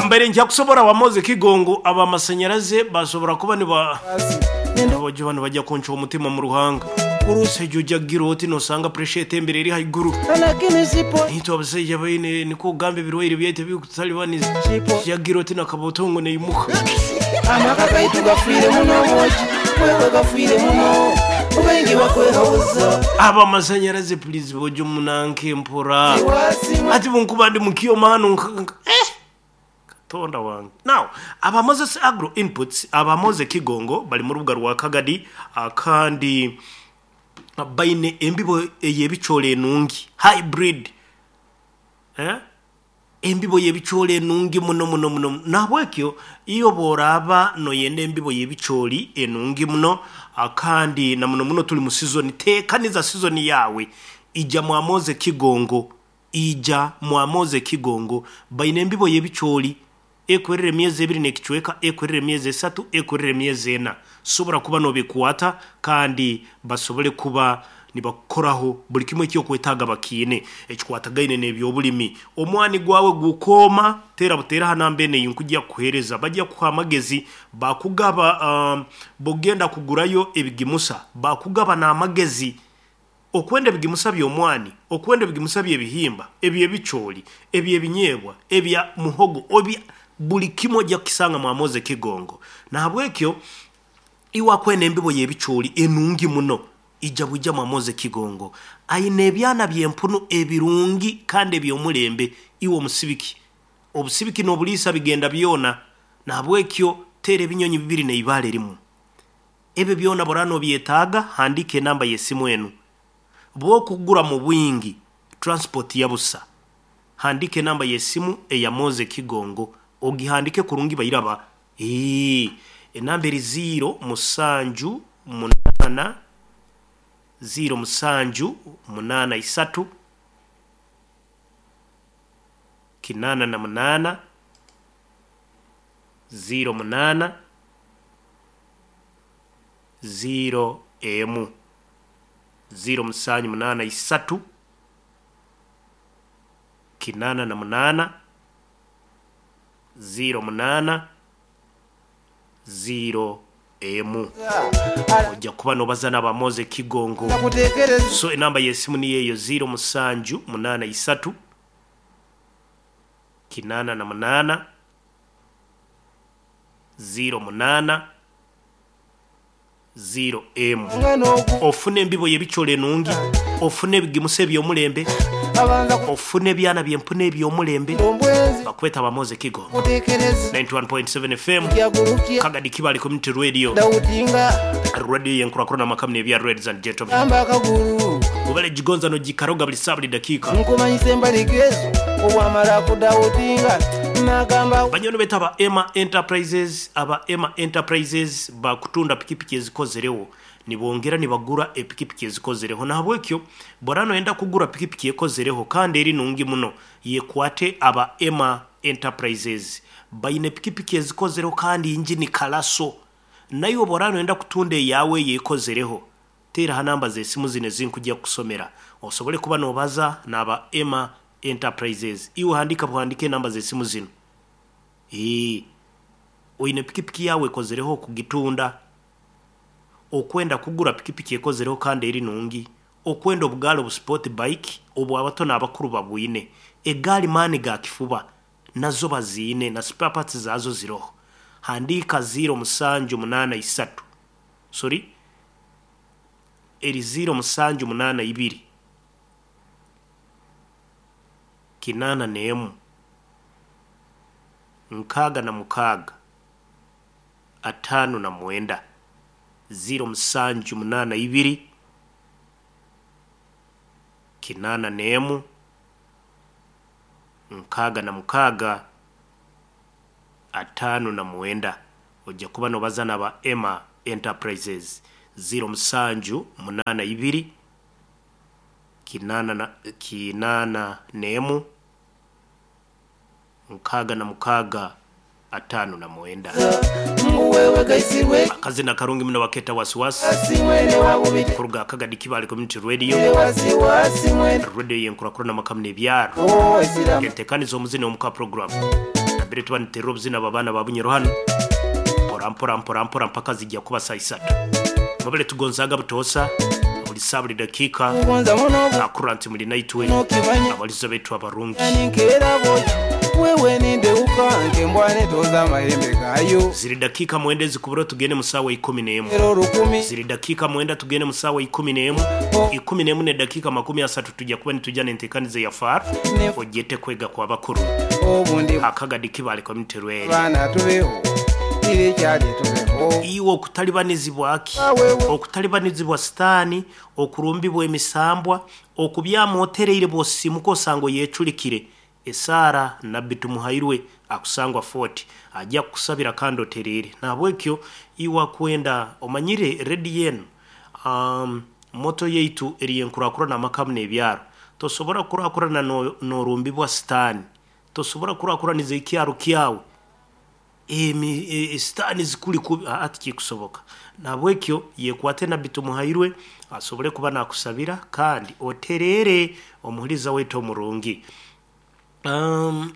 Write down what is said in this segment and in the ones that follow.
Mbaire nkyakusobora Wamoze Kigongo abamasanyaraze basobora kuba niba Abojo banu bajja kuncwa omutima mu ruhanga. Omusaija oja kugira oti nosanga pressure etembere eri haiguru. Naitwe abasaija baine nikwo kugamba ebirwaire byaitu ebirikututalibaniza. Oja kugira oti na kabotongo neimuka. Amaka gaitu gafiire muno obwogi wewe gafiire muno obaingi bakwehabuza. Abamasanyaraze please bojo munanke mpora. Ati bwenkuba ndi mukyoma hanu nka eh! Katonda wange. Now, aba Moses Agro Inputs, aba Moze Kigongo bali mu rubuga rwa Kagadi kandi baine embibo ey'ebicoori enungi, hybrid, eh, embibo y'ebicoori enungi muno muno muno. Nahabwekyo iwe bw'oraaba noyenda embibo y'ebicoori enungi muno kandi na muno muno tuli mu sizoni, teekaniza sizoni yaawe, ija mwa Moze Kigongo. Ija mwamoze ekigongo. Baine embibo y'ebicoori ekwerera emyezi ebiri n'ekicweka, ekwerera emyezi esatu, ekwerera emyezi ena. Sobora kuba nobikwata kandi basobole kuba nibakukoraho buli kimu eky'okwetaaga bakiine ekikwatagaine n'eby'obulimi. Omwani gwawe gukooma, teera buteera ha namba eno ei nkugya kukuheereza. Bagya kukuha amagezi, bakugaba bw'ogenda kugurayo ebigimusa, bakugaba n'amagezi. Okwenda ebigimusa by'omwani, okwenda ebigimusa by'ebihimba, eby'ebicoori, eby'ebinyeebwa, ebya muhogo, ebya buli kimwe oja kukisanga mwa Moze Kigongo. Nahabwekyo iwe akwenda embibo y'ebicoori enungi muno, ija bwija mwa Moze Kigongo. Aine ebyana by'empunu ebirungi kandi eby'omulembe. Iwe omusibiki, obusibiki n'obuliisa bigenda byona. Nahabwekyo teera ebinyonyi bibiri n'eibaale rimu. Ebyo byona bw'oraba nobyetaaga, handiika enamba y'esimu enu. Bw'okugura mu bwingi, transport ya busa. Handiika enamba y'esimu eya Moze Kigongo, ogihandike kurungi bairaba. Eeh, enamba eri ziiro musanju munaana, ziiro musanju munaana isatu, kinaana na munaana, ziiro munaana, ziiro emu, ziiro musanju munaana isatu, kinaana na munaana, ziiro munaana, ziiro emu. Oja kuba nobaza n'aba Moze Kigongo. So enamba y'esimu niyo eyo ziiro musanju munaana isatu, kinaana na munaana, 08 0M. Ofune embibo y'ebicoori enungi, ofune ebigimusa eby'omulembe, ofune ebyana by'empunu eby'omulembe. Bakweta ba Moze Kigo. 91.7 FM, Kagadi Kibale Community Radio, radio y'enkurakurana amaka mune ebya Ladies and Gentlemen. Webale gigonza n'ogikaroga buli saa buli dakiika. Banywani baitu aba Emma Enterprises, aba Emma Enterprises bakutunda pikipiki ezikozereho. Nibongera nibagura epikipiki ezikozereho. Nahabwekyo bworaba noyenda kugura pikipiki ekozereho kandi eri nungi muno, yekwate aba Emma Enterprises. Baine pikipiki ezikozereho kandi injini kalaso. Naiwe bworaba noyenda kutunda eyawe eyo ekozereho, Teera ha namba z'esimu zinu ezi nkugya kukusomera osobole kuba noobaza n'aba Emma Enterprises. Iwe handiika buhandiike enamba z'esimu zinu. Eeh. Oine pikipiki yaawe ekozereho okugitunda? Okwenda kugura pikipiki ekozereho kandi eri nungi? Okwenda obugaali obu sport bike obu abato n'abakuru babwine? Egaali maani ga kifuba nazo baziine na spare parts zaazo ziroho. Handiika ziiro musanju munaana isatu. Sorry. Eri ziiro musanju munaana ibiri, kinaana n'emu, nkaaga na mukaaga, ataano na mwenda. Ziiro musanju munaana ibiri, kinaana n'emu, 66, 59. Oja kuba nobaza naba Emma Enterprises. Ziiro musanju munaana ibiri, kinaana na kinaana n'emu, 66, 59. Akazina karungi muno baketa Wasiwasi kuruga Akagadi Kibale Community Radio, radio y'enkurakurana amaka muno ebyaro. Entekaniza omuzini omuka program. Nambere tuba nituterera obuzina bw'abaana ba Bunyoro hanu mpora mpora mpora mpora mpaka zijya kuba saa isatu. Mwebale tugonzaaga butoosa buli saa buli dakiika Kugonza muno akurora nti muli naitwe nokimanya abalizo baitu abarungi. Ninkeera bwoki wewe nindeuka nkembwa netoza amahembe gayo Ziri dakiika mwenda ezikubura tugende mu saawa 11. era olukumi Ziri dakiika mwenda tugende mu saawa 11. 11 nedakiika 30 tujja kuba nitujja n'enteekaniza ya FAR Ne- ogyete kwega kwa bakuru obundi akagadi kibale community rweri. baana tubeho irikyali tubeho Iwe okutalibanizibwa ki? Wewe. Okutalibanizibwa sitaani, okurumbibwa emisambwa, okubyama otereire bw'osimuka osanga oyeculikire. Esaara Nabbi Tumuhairwe akusangwa Fort ajja kukusabira kandi otereere. Nahabwekyo iwe akwenda omanyire rediyo enu moto yaitu eri enkurakurana amaka n'ebyaro. Tosobora kukurakurana n'orumbibwa sitaani. Tosobora kukurakuraniza ekyaro kyawe emi sitaani zikuli kubi aa tikikusoboka. Nahabwekyo yekwate Nabbi Tumuhairwe asobole kuba nakusabira kandi otereere omuhuriza waitu omurungi.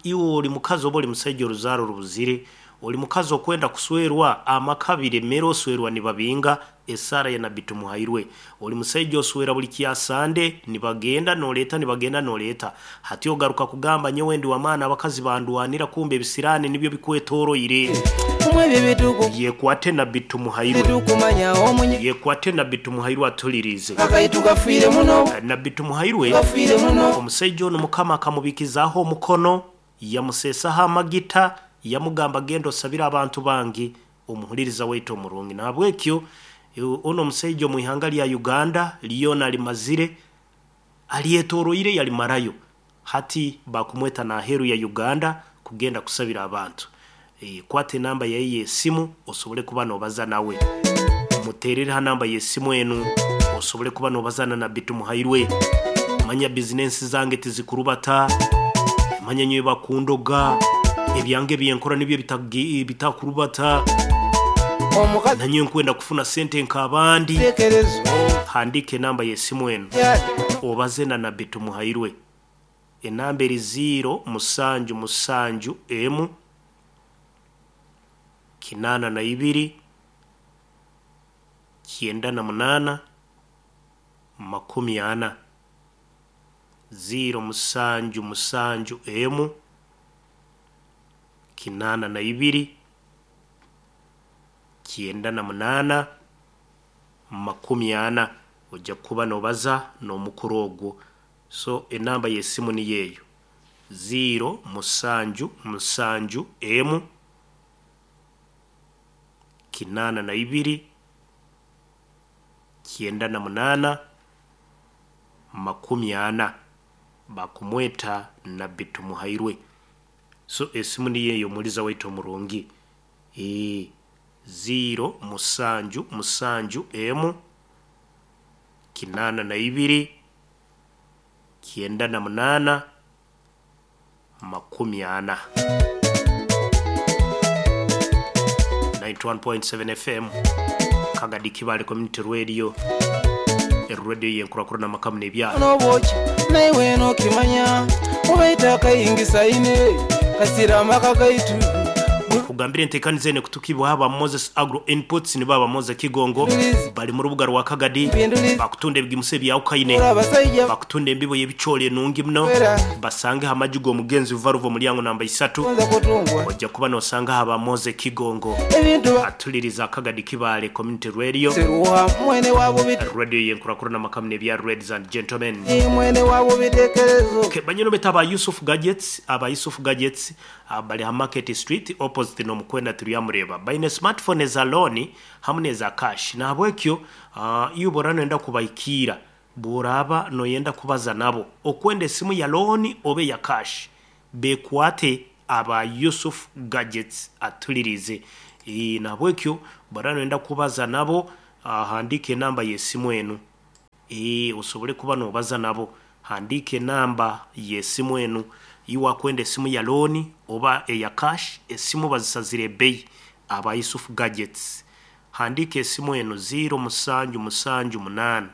Iwe ori mukazi oba ori musaija oruzaaro rubuzire, ori mukazi okwenda kuswerwa amaka biremere oswerwa nibabinga esaara ya Nabbi Tumuhairwe. Ori musaija oswera buli kyasande nibagenda noreeta nibagenda noreeta. Hati ogaruka kugamba nyowe ndi w'amaani abakazi bandwanira kumbe ebisiraani nibyo bikwetoroire. Kumwe ebyo bituku Yekwate Nabbi Tumuhairwe. bitukumanya omunye Yekwate Nabbi Tumuhairwe atuliriize. akaitu gafiire muno Nabbi Tumuhairwe gafiire muno omusaija onu Mukama akamubikizaaho omukono, yamuseesaho amagita, yamugamba genda osabire abantu bange omuhuliriza waitu omurungi. Nahabwekyo onu omusaija omu ihanga lya Uganda lyona alimazire, alyetoroire yalimarayo. Hati bakumweta n'aheeru ya Uganda kugenda kusabira abantu. Kwata enamba yaye y'esimu osobole kuba noobaza nawe. Muteerere ha namba y'esimu enu osobole kuba noobaza na Nabbi Tumuhairwe. Manya bizinensi zange tizikurubata, manya nyowe bakundoga, ebyange byenkora nibyo bitakurubata, omukazi nanyowe nkwenda kufuna sente nk'abandi. tekerezo Handiika enamba y'esimu enu kyali obaze na Nabbi Tumuhairwe. Enamba eri 0 musanju musanju emu 82 98 40 0 musanju musanju emu 82 98 40 ojja kuba noobaza n'omukuru ogwo. So enamba y'esimu niyo eyo 0 musanju musanju emu 82 98 40 bakumweta Nabbi Tumuhairwe. So esimu niyo eyo omuhuriza waitu omurungi. 0 musanju musanju emu 82 98 40. 91.7 FM Kagadi Kibale Community Radio, radio yenkurakurana amaka n'ebyaro. N'obwoki naiwe nokimanya obaita akayingisa ine kasira amaka gaitu Kugambira enteekaniza ene kutukibwaho aba Moses Agro Inputs nibo aba Moses Kigongo Ndulizi. bali mu rubuga rwa Kagadi Mpindulizi. bakutunda ebigimusa ebyawukaine ora abasajja bakutunda embibo y'ebicoori enungi muno Era. basangeho amaju g'omugenzi ruva omulyango namba 3 gonza kutungwa ojja kuba nosangaho aba Moses Kigongo ebintu atuliriza Kagadi Kibale Community Radio seruha mwene wabo radio yenkurakurana amaka n'ebya ladies and gentlemen. mwene wabo bitekerezo Okay, banyino beta aba Yusuf Gadgets, aba Yusuf Gadgets bali ha Market Street opposite n'omukwenda turiyamureba. Baine smartphone eza loan hamwe n'eza cash. Nahabwekyo iyo ubora noyenda kubaikira bworaba noyenda kubaza nabo okwenda esimu ya loan obe ya cash bekwate aba Yusuf Gadgets atulirize. Nahabwekyo bora noyenda kubaza nabo handika enamba y'esimu enu osobole kuba noobaza nabo handiika enamba y'esimu enu iwe akwenda esimu ya looni oba eya cash esimu bazisazire ebbeyi aba Yusuf Gadgets handiika esimu enu 0 musanju musanju munaana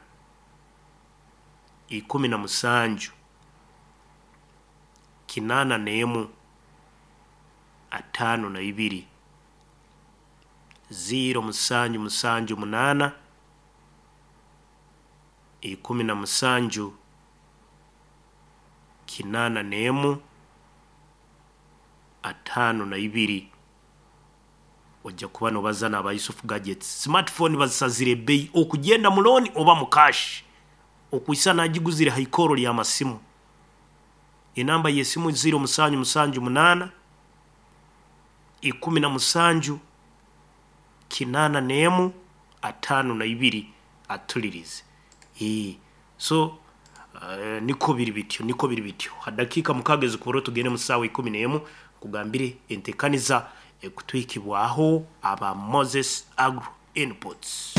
17 81 52. 0778 17 81 52. Ojja kuba nobaza n'aba Yusuf Gadgets. Smartphone bazisazire ebbeyi okugyenda mu loan oba mu cash. Okwisa nagiguzire ha ikooro ly'amasimu. Enamba y'esimu 0778 17 81 52 atulirize. Eeh so nikwo biri bityo, nikwo biri bityo. Ha dakiika mukaaga ezikubura tugende mu saawa 11 nkugambire entekaniza ekutuhikibwaho aba Moses Agro Inputs.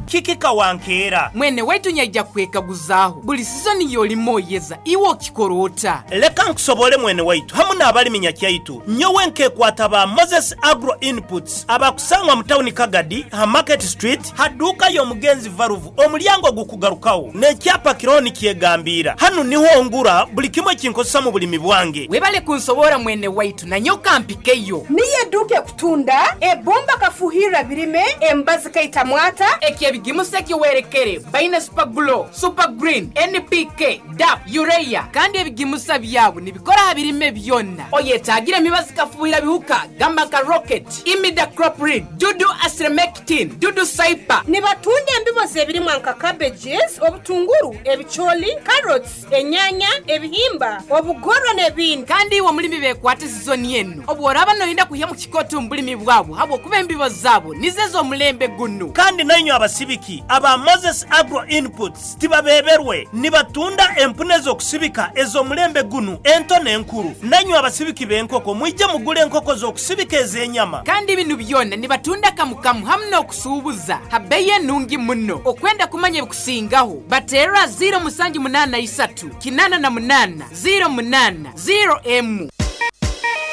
Kiki kawankeera? Mwene waitu nyaija kwekaguzaaho, buli sizoni y'olima oyeza, iwe okikora ota? Leka nkusoboore mwene waitu hamu n'abalimi nyakyaitu, nyowe nkekwata ba Moses Agro Inputs abakusangwa mu tawuni Kagadi ha Market Street ha duuka y'omugenzi Valuvu omulyango ogukugarukawo n'ekyapa kiroho nikyegambiira. Hanu niho ngura buli kimu ekinkozesa mu bulimi bwange. Webale kunsoboora mwene waitu, nanye okampikeyo. Niyo eduuka ekutunda ebbumba kafuhirra birime, emibazi kaita mwata. Eky'ebigimusa ekiwerekere baine Super Glow, Super Green, NPK, DAP, Urea kandi ebigimusa byabo nibikora aha birime byona. Oyetaagire emibazi kafuhirra bihuka gamba nka Rocket, Imidacloprid, Dudu Astremectin, Dudu Cyper. Nibatunda embibo z'ebirimwa nka cabbages, obutunguru, ebicooli, carrots, enyanya, ebihimba, obugorwa n'ebindi. Kandi iwe omulimi beekwate sizoni enu obu oraaba noyenda kwihamu kikooto omu bulimi bwabo habw'okuba embibo zaabo nizo ez'omulembe gunu. Kandi nainywe abasibiki aba Moses Agro Inputs tibabeeberwe, nibatunda empunu ez'okusibika ez'omulembe gunu ento n'enkuru. Nainywe abasibiki b'enkoko mwije mugule enkoko z'okusibika ez'enyama. Kandi binu byona nibatunda kamu kamu hamu n'okusuubuza ha bbeyi enungi muno. Okwenda kumanya ebikusingaho, bateerra 0783 88 08 0 emu.